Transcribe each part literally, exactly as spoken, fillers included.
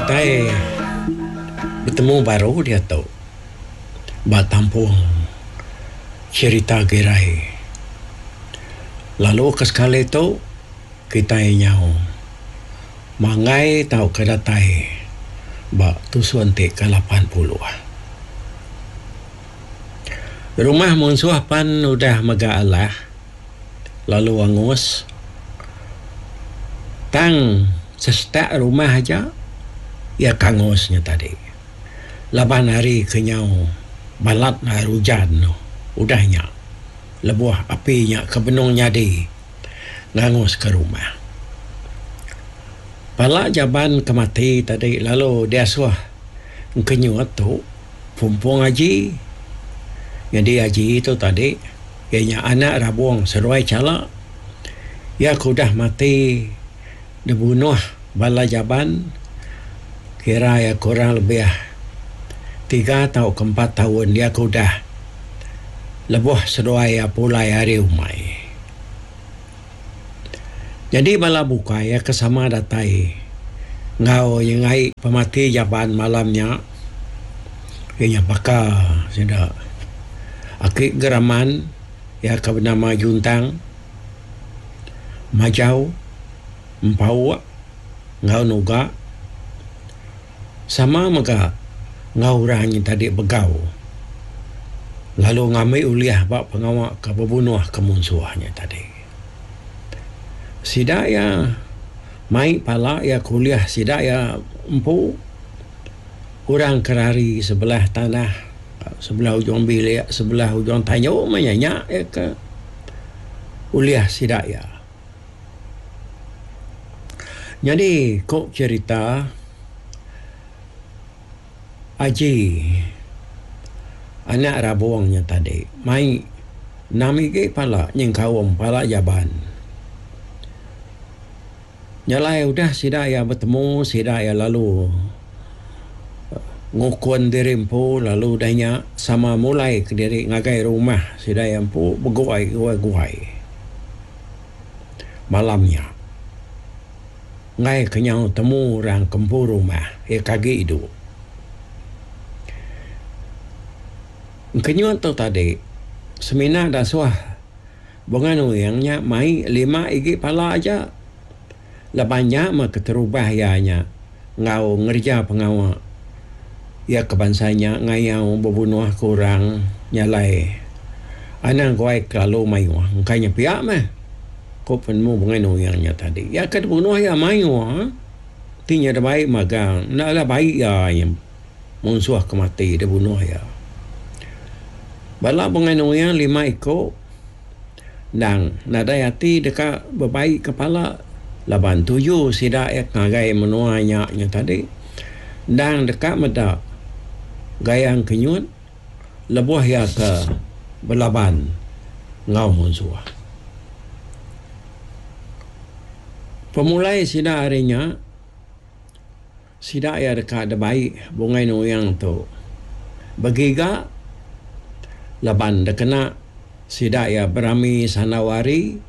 Kitai betemu baru diatu ba tampung cherita Girai. Lalu ke sekali tu kitai nyau manggai tauka datai ba tusun ti ke lapan puluh. Rumah munsuh pan udah mega alah lalu angus tang sesetak rumah aja iya ke angus nya tadi laban hari ke nyau balat hari ujan udah nya lebuh api nya ke benung nyadi nganguska rumah. Pala jaban ke mati tadi lalu diasuh engkenyut tu pumpung aji. Nyadi aji tu tadi iya nya anak Rabong seduai Chala. Iya ke udah mati dibunuh bala jaban kira iya kurang lebih tiga tauka empat taun iya ke udah lebuh seduai iya pulai ari umai. Nyadi bala bukai iya ke sama datai enggau nyengai pemati jaban malam nya iya nya baka sida aki Geraman iya ke benama Juntang, Majau, Empauk enggau Nuga sama mega enggau orang nya tadi begau lalu ngambi ulih ba pengawa ke bebunuh ke munsuh nya tadi. Sida iya mai pala iya ke ulih sida iya empu orang ke rari sebelah tanah sebelah ujung bilik sebelah ujung tanyu meh nya nya iya ke ulih sida iya. Nyadi ku cherita Aji anak Rabong nya tadi mai enam igi pala nyengkaum pala jaban. Nya alai udah sida iya betemu sida iya lalu ngukun diri empu lalu udah nya sama mulai kediri ngagai rumah sida iya empu beguai guai malam nya. Enggai ke nyau temu orang ke empu rumah iya ke agi idup. Engkenyut tu tadi semina dasuh Bunga Nuing nya mai lima igi pala aja laban nya meh keterubah iya nya enggau ngereja pengawa iya ke bansa nya ngayau bebunuh ke orang nya alai anang guai kelalu mayuh engka nya pia meh ku penemu Bunga Nuing nya tadi. Iya ke dibunuh iya mayuh ti nya dibai magang enda lah bai iya nya munsuh ke mati dibunuh iya. Bala Bunga Nuing lima iku endang nadai ati deka bebai kepala laban tuju sida iya ngagai menua nya nya tadi endang deka meda gayang kenyut lebuh iya ke belaban enggau munsuh. Pemulai sida ari nya sida iya deka dibai Bungai Nuing tu begiga laban dikena sida iya berami sandau hari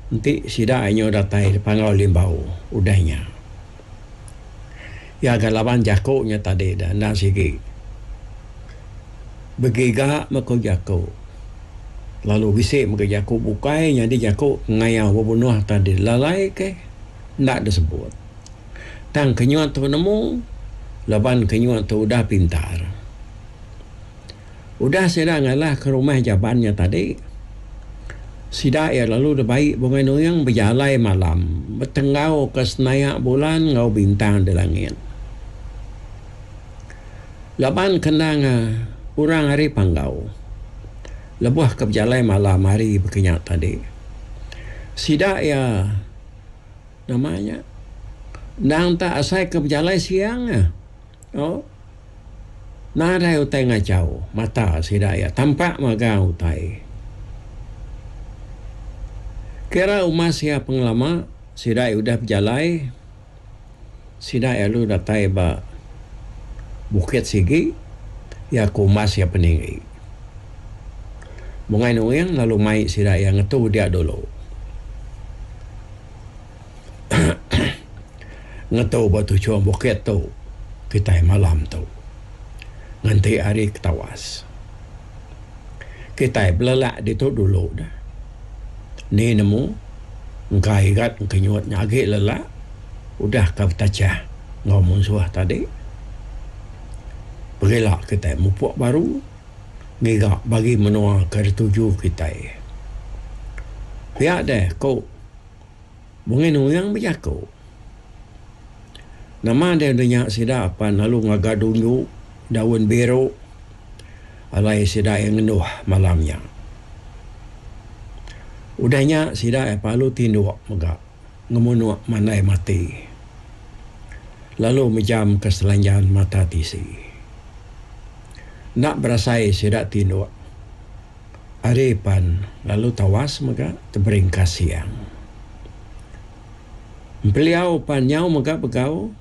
enti sida iya nyau datai di Panggau Limbau udah nya. Iya ga laban jaku nya tadi da endang sigi begiga meh ku jaku lalu bisi mega jaku bukai nyadi jaku ngayau bebunuh tadi lalai ke enda disebut. Tang kenyut tu nemu laban kenyut tu udah pintar. Udah sida ngalah ke rumah jaban nya tadi, sida iya lalu dibai Bungai Nuing bejalai malam betenggau ke senayak bulan enggau bintang di langit. Laban ke endang orang ari Panggau lebuh ke bejalai malam hari baka nya tadi, sida iya nama nya endang tak asai ke bejalai siang. Oh. Nadai utai ngachau mata sida iya tampak magang utai. Kira umas iya pengelama sida iya udah bejalai, sida iya lalu datai ba bukit sigi iya ke umas iya peninggi. Bungai Nuing lalu mai sida iya ngetu dia dulu. Ngetu ba tuchung bukit tu. kitai malam tu. Nganti hari ketawas. Kitai belelak ditu dulu dah. Ni nemu engka Igat Engkenyut nya agi lelak udah ka betachah enggau munsuh tadi. Pegila kitai mupuk baru ngiga bagi menua ke dituju kitai. Pia deh ku Bungai Nuing bejaku. Nama deh udah nya sida pan lalu ngaga dunju daun biru alai sida iya ngenduh malam nya. Udah nya sida iya lalu tinduk mega ngemunuk mandai mati lalu mejam ke selanjan mata tisi. Enda berasai sida tinduk hari pan lalu tawas mega teberingkas siang. Empeliau pan nyau mega begau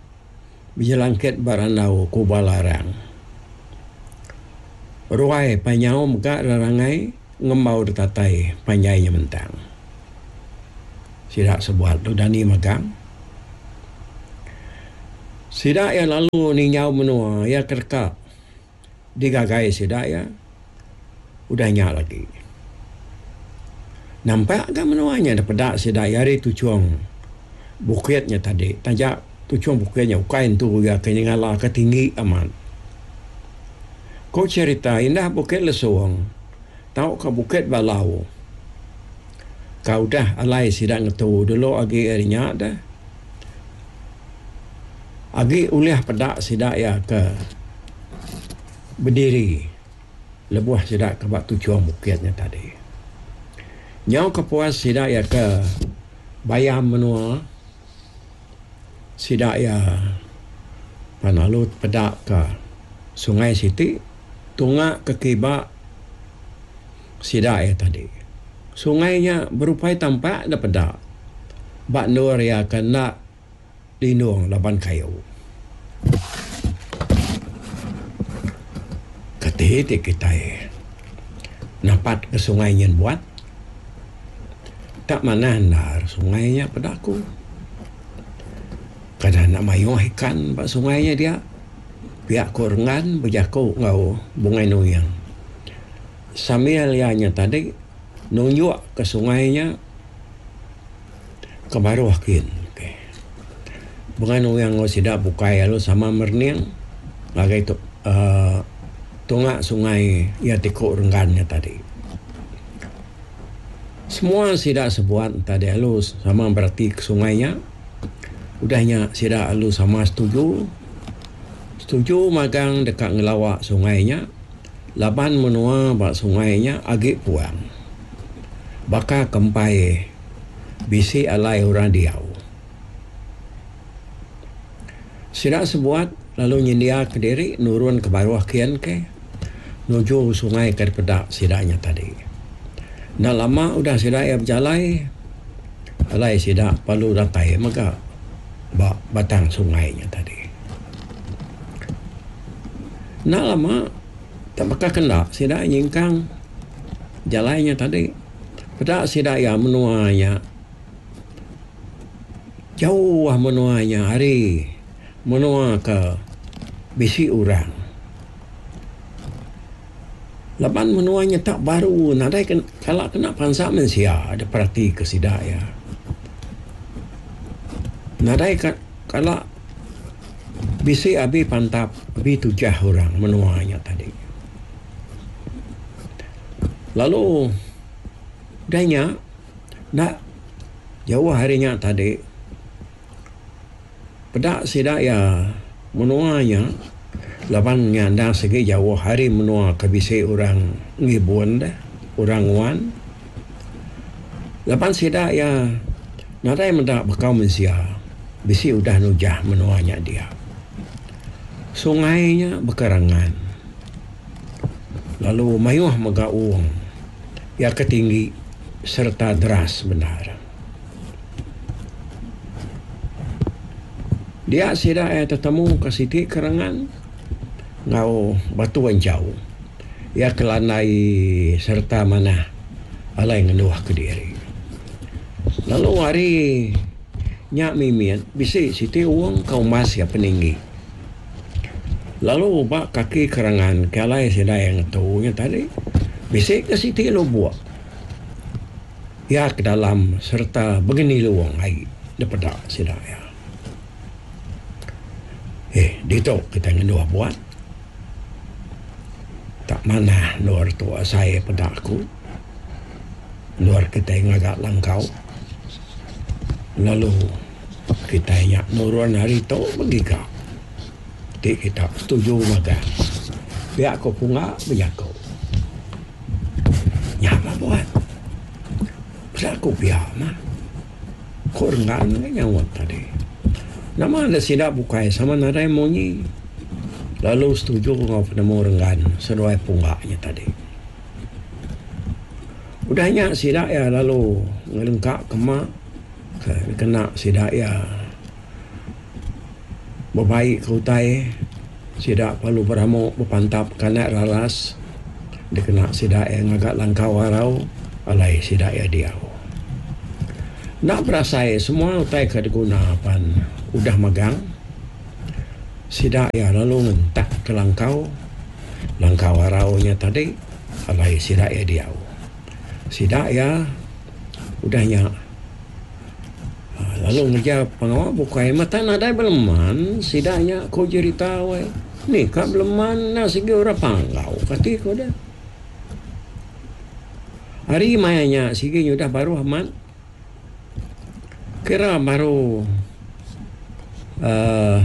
bejelangkit ba randau kuba larang. Ruai pan nyau mega rerangai ngembau ditatai panjai nyementang. Sida sebuat tu dani magang. Sida iya lalu ninjau menua iya ke deka digagai sida iya udah nya lagi. Nampak ga menua nya dipeda sida iya ari tuchung bukit nya tadi taja tuchung bukit nya ukai entu iya ke nyengala ke tinggi amat. Ku cherita indah Bukit Lesung tauka Bukit Balau ka udah alai sida ngetu dulu agi ari nya deh agi ulih peda sida iya ke bediri lebuh sida ke ba tuchung bukit nya tadi. Nyau kepuas sida iya ke bayam menua sida iya pan lalu peda ka sungai siti tunga ke kiba sida iya tadi. Sungai nya berupai tampak da peda ba endur iya ke enda lindung laban kayu. Kati ti kitai napat ke sungai nyin buat tak manah endar sungai nya peda aku. Kada enda mayuh ikan ba sungai nya dia pia ku Renggan bejaku enggau Bungai Nuing. Sambil iya nya tadi nunjuk ke sungai nya ke baruh kin. Bungai Nuing enggau sida bukai lalu sama merening ngagai tu uhh tunga sungai iya ti ku Renggan nya tadi. Semua sida sebuat tadi lalu sama berati ke sungai nya. Udah nya sida lalu sama setuju. Setuju magang deka ngelawa sungai nya laban menua ba sungai nya agi puang. Baka ke empai bisi alai orang diau. Sida sebuat lalu nyendiaka diri nurun ke baruh kian ke nuju sungai ke dipeda sida nya tadi. Enda lama udah sida iya bejalai alai sida perlu datai mega ba batang sungai nya tadi. Enda lama tak baka ke enda sida nyingkang jalai nya tadi peda sida iya menua nya jauh menua nya ari menua ke bisi orang. Laban menua nya tak baru nadai kala kena pansa mensia diperati ke sida iya. Nadai kala bisi abi pantap abi tujah orang menua nya tadi. Lalu udah nya enda jauh ari nya tadi peda sida iya menua nya laban nya endang sigi jauh ari menua ke bisi orang ngibun deh, orang nguan. Laban sida iya nadai meda bekau mensia bisi udah nujah menua nya dia. Sungai nya bekerangan lalu mayuh mega wong iya ke tinggi sereta deras bendar. Dia sida iya tetemu ke siti kerangan enggau batu anchau iya ke landai sereta manah alai ngenduh kediri. Lalu ari nya mimit bisi siti wong ke umbas iya peninggi. Lalu ba kaki kerangan ke alai sida iya ngetu nya tadi bisi ke siti lubuk iya ke dalam sereta begenilung ai dipeda sida iya. Eh ditu kitai ngenduh buat. Tak manah endur tu asai peda aku. Endur kitai ngaga langkau lalu kitai nya nurun hari tu begiga. Ti kita setuju magang. Pia ko Pungga bejaku. Nya mah buat. Peda ku pia mah. Ko Renggan ngagai nyaut tadi. Nama enda sida bukai sama nadai munyi lalu setuju enggau penemu Renggan seduai Pungga nya tadi. Udah nya sida iya lalu ngelengka ke ma ke dikena sida iya. Bebai ke utai sida perlu beramu bepantap ke anak raras dikena sida iya ngaga langkau arau alai sida iya diau. Enda berasai semua utai ke diguna pan udah megang sida iya lalu ngentak ke langkau langkau arau nya tadi alai sida iya diau. Sida iya udah nya. Lalu ngereja pengawa bukai mata nadai beleman sida nya ku jerita weh. Ni ka beleman enda sigi orang panggau kati ku deh. Hari maya nya sigi nyudah baruh amat kira baru uhh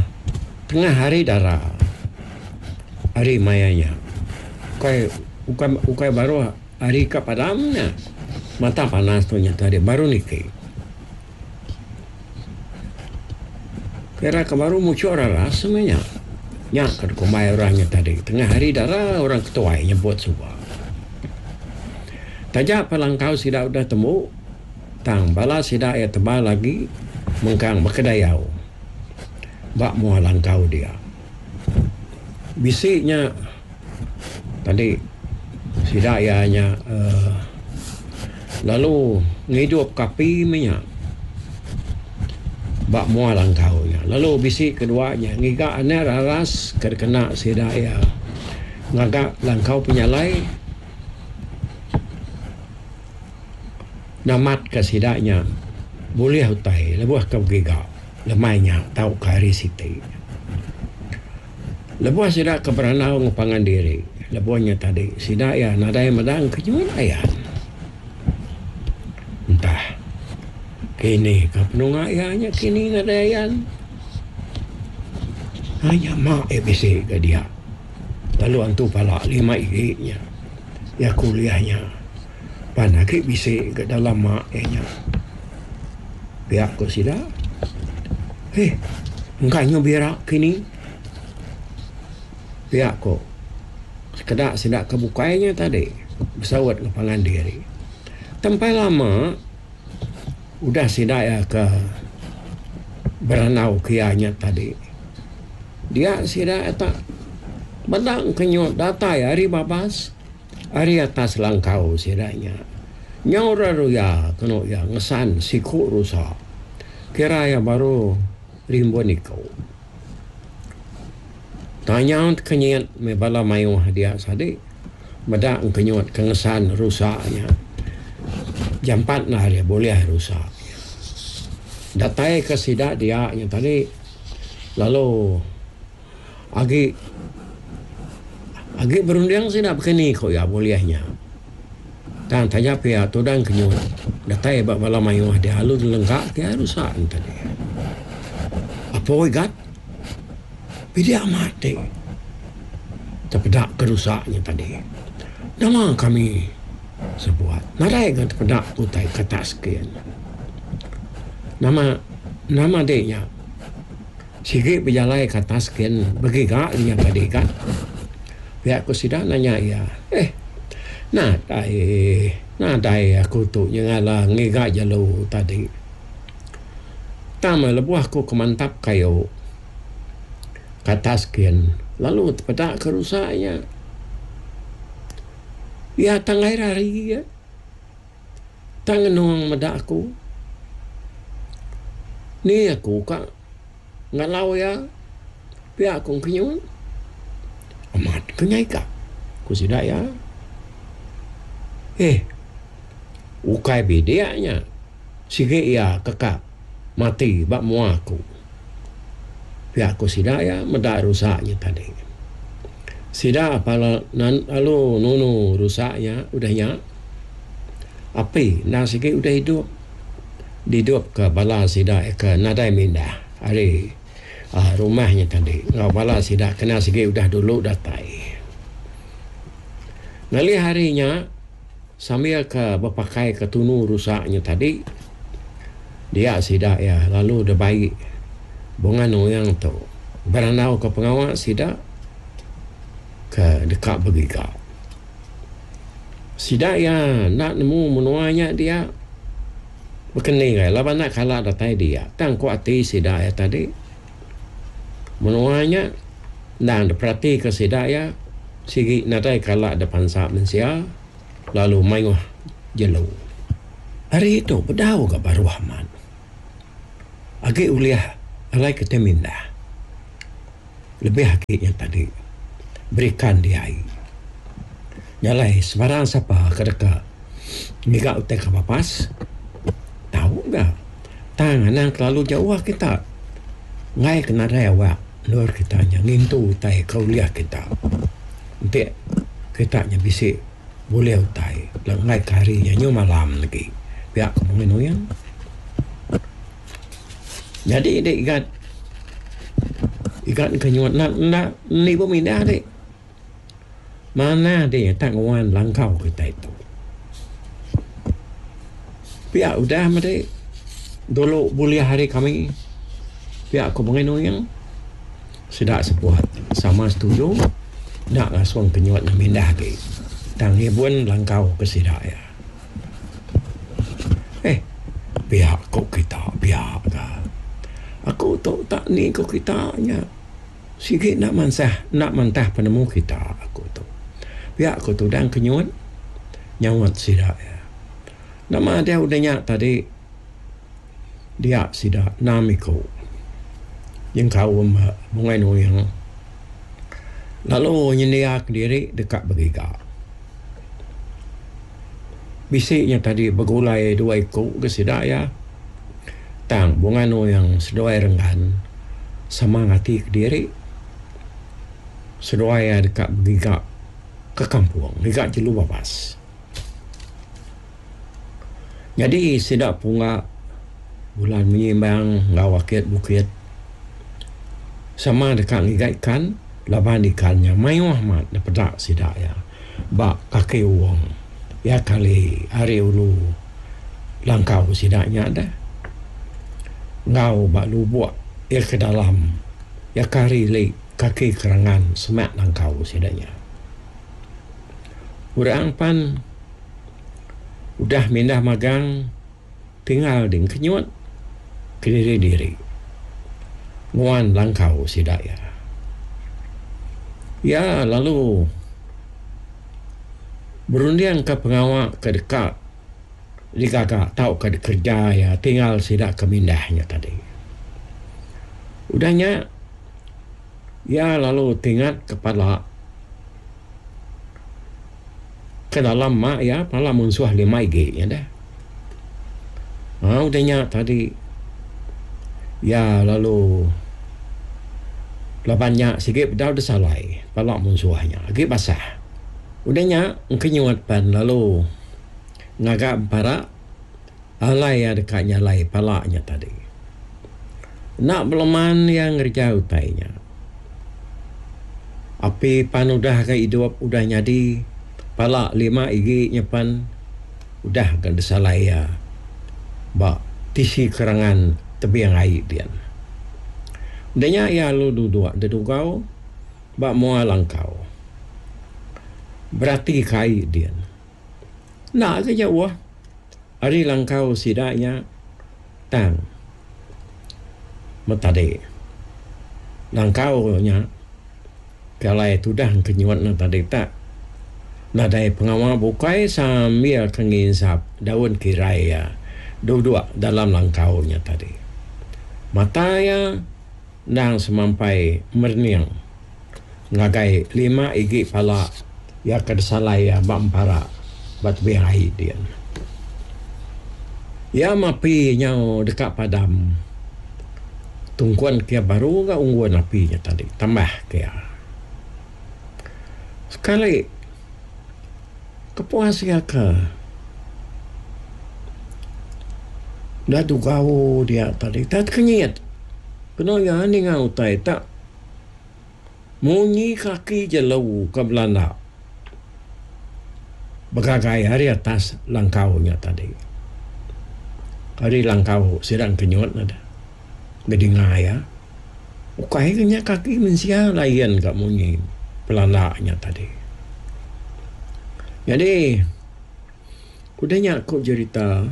tengah hari dara hari maya nya. Ukai ukai ukai baruh hari ka padam nya mata panas tu nya tadi baru niki. Kira ke baru muchuk raras meh nya. Nya ke dikumbai orang nya tadi tengah hari dara orang ketuai nyebut suba. Taja pa langkau sida udah tembu tang bala sida iya tebal agi mengkang bekedayau ba mua langkau dia. Bisi nya tadi sida iya nya uhh lalu ngidup ka api meh nya ba mua langkau nya. Lalu bisi kedua nya ngiga anak raras ke dikena sida iya ngaga langkau penyalai namat ka sida nya bulih utai lebuh ke begiga lemai nya tauka hari siti. Lebuh sida ke berandau enggau pangan diri lebuh nya tadi sida iya nadai meda engkenyut ayan. Entah kini ka penunga iya nya kini nadai ayan. Ai nya ma iya bisi ga dia lalu antu pala lima igi nya iya kuliah nya pan agi bisi ga dalam ma iya nya. Pia ku sida eh engka nyu bira kini pia ku sekeda sida ke bukai nya tadi besaut enggau pangan diri. Tempai lama udah sida iya ke berandau ke iya nya tadi. Dia sida iya tak meda engkenyut datai ari babas ari atas langkau sida nya. Nyau ra ruya kenu iya ngesan siku rusa kira iya baru rimbun iku. Tanya tekenyit meh bala mayuh dia sadi meda engkenyut ke ngesan rusa nya. Jampat nah iya bulih rusa nya. Datai ke sida dia nya tadi lalu agi agi berunding sida bekeni ku iya bulih nya. Tang taja pia tudang kenyut datai ba bala mayuh dia lalu dilengka ke iya rusa nya tadi. Apo igat bidik amat ti tepeda ke rusa nya tadi. Nama kami sebuat nadai ga tepeda ke utai ke atas kin. Nama nama di nya sigi bejalai ke atas kin begiga nya tadi ga. Pia ku sida nanya iya eh nadai nadai aku tu nyengala ngiga jelu tadi. Tang meh lebuh aku ke mantap kayu ke atas kin lalu tepeda ke rusa nya. Iya tanggai rari iya. Tang ngenung meda aku. Ni aku ka ngalau iya pia ku engkenyut. Ke nya ika, ku sida iya. Eh, ukai bidik nya. Sigi iya keka mati ba mua aku. Pia ku sida iya meda rusa nya tadi. Sida pala lalu nunu rusa nya udah nya. Api endang sigi udah idup. Didupka bala sida ke nadai mindah ari rumah nya tadi enggau bala sida kena sigi udah dulu datai. Ngalih hari nya sambil ke bepakai ke tunu rusa nya tadi dia sida iya lalu dibai Bunga Nuing tu berandau ke pengawa sida ke deka begiga. Sida iya enda nemu menua nya dia bekeni gai laban enda kala datai dia tang ku ati sida iya tadi. Menua nya endang diperatika sida iya sigi nadai kala dipansa mensia lalu mayuh jelu. Hari tu bedau ga baruh amat. Agi ulih alai kitai mindah. Lebih agi nya tadi berikan di ai. Nya alai sebarang sapa ke deka ngiga utai ke babas tau ga. Tang anang kelalu jauh kita. Enggai ke nadai awak endur kita nya ngintu utai ke ulih kita. Enti kita nya bisi bulih utai lalu enggai ke hari nya nyu malam lagi pia ku Mungin Uyang. Nyadi dik igat igat ke nyuat enda enda nibu mindah dik. Manah dik tak nguan langkau kitai tu. Pia udah meh dik dulu bulih ari kami. Pia ku Bungai Nuing, sida sebuat sama setuju enda ngasung kenyut nya mindah agi tang ngibun langkau ke sida iya. Eh, pia ku kita pia ka. Aku tu tak ni ku kita nya sigi enda mansah enda mantah penemu kita aku tu. Pia ku tudang kenyut nyaut sida iya. Nama deh udah nya tadi dia sida enam iku. Nyengkaum Bungai Nuing lalu nyendia kediri deka begiga. Bisi nya tadi begulai dua iku ke sida iya tang Bungai Nuing seduai Renggan sama ngati kediri seduai iya deka begiga ke kampung ngiga jelu babas. Nyadi sida pungga bulan menyimbang enggau akit bukit sama deka ngiga ikan laban ikan nya mayuh amat dipeda sida iya ba kaki wong iya kali ari ulu langkau sida nya deh enggau ba lubok iya ke dalam iya ke ari ili kaki kerangan semak langkau sida nya. Orang pan udah mindah magang tinggal ding kenyut kediri-diri nguan langkau sida iya. Iya lalu berundingka pengawa ke deka digaga tauka dikereja iya tinggal sida ke mindah nya tadi. Udah nya iya lalu tingat ke pala ke dalam ma iya pala munsuh lima igi nya deh. Aa udah nya tadi iya lalu laban nya sigi bedau disalai pala munsuh nya agi basah. Udah nya engkenyut pan lalu ngaga empara alai iya deka nyalai pala nya tadi. Enda beleman iya ngereja utai nya. Api pan udah ga idup udah nyadi pala lima igi nya pan udah ga disalai iya ba tisi kerangan tebing ai din. Udah nya iya lalu duduk dedugau ba mua langkau. Berati ka ai din. Enda ga jauh ari langkau sida nya tang metadi. Langkau nya ke alai tudah kenyut ne tadi tak nadai pengawa bukai sambil ke nginsap daun kirai iya duduk dalam langkau nya tadi. Mata iya endang semampai merening Ngagai lima igi pala iya ke disalai iya ba empara ba tebing ai din. Iya mapi nyau deka padam tungkun ke iya baru ga unggun api nya tadi tambah ke iya. Sekali kepuas iya ke udah dugau dia tadi tak tekenyit kenu iya ninga utai tak munyi kaki jelu ke belanda begagai ari atas langkau nya tadi. Ari langkau sida engkenyut ne bedinga iya. Ukai ke nya kaki mensia lain ka munyi pelanda nya tadi. Nyadi udah nya ku jerita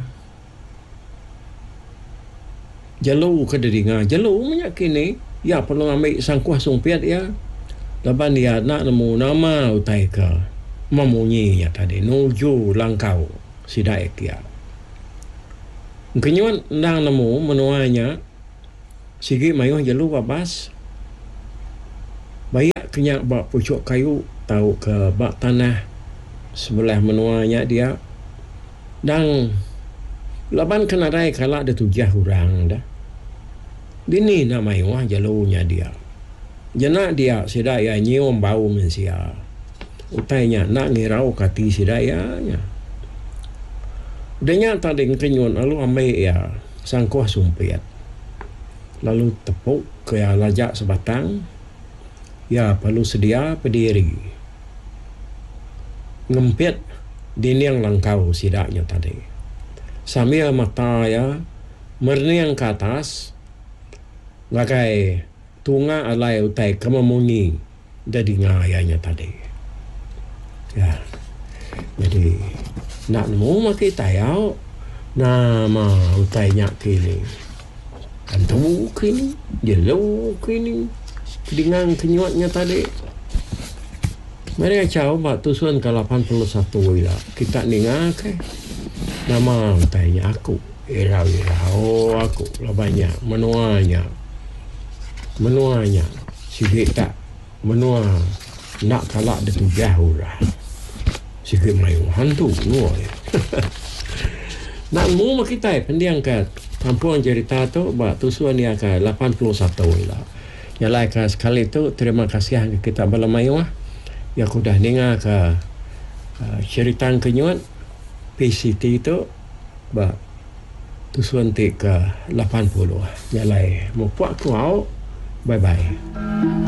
jelu ke didinga jelu meh nya kini iya perlu ngambi sangkuh sumpit iya laban iya enda nemu nama utai ke memunyi nya tadi nuju langkau sida iya kiya. Engkenyut endang nemu menua nya sigi mayuh jelu babas bayak ke nya ba puchuk kayu tauka ba tanah sebelah menua nya dia dang laban ke nadai kala ditujah orang da. Dini enda mayuh jelu nya dia. Jena dia sida iya nyium bau mensia. Utai nya enda ngirauka ati sida iya nya. Udah nya tadi engkenyut lalu ambi iya sangkuh sumpit lalu tepu ke iya laja sebatang iya perlu sedia pediri ngempit dinding langkau sida nya tadi. Sambil mata iya merening ke atas ngagai tunga alai utai ke memunyi da dinga iya nya tadi. Ya. Nyadi enda nemu meh kitai au nama utai nya kini. Antu kini, jelu kini dinga kenyut nya tadi. Meri achau ba tusun ke lapan puluh satu ila kita ninga ke nama utai nya aku irau-irau aku laban nya menua nya. Menua nya sigi tak menua enda kala ditujah orang. Sigi mayuh hantu menua nya. Enda nemu meh kitai pending ka kampung jerita tu ba tusun iya ke lapan puluh satu ila. Nya alai ka sekali tu terima kasih ngagai kita bala mayuh iya ke udah ninga ka cherita engkenyut P C T tu ba tusun ti ke lapan puluh. Nya alai mupuk ku au. Bye bye.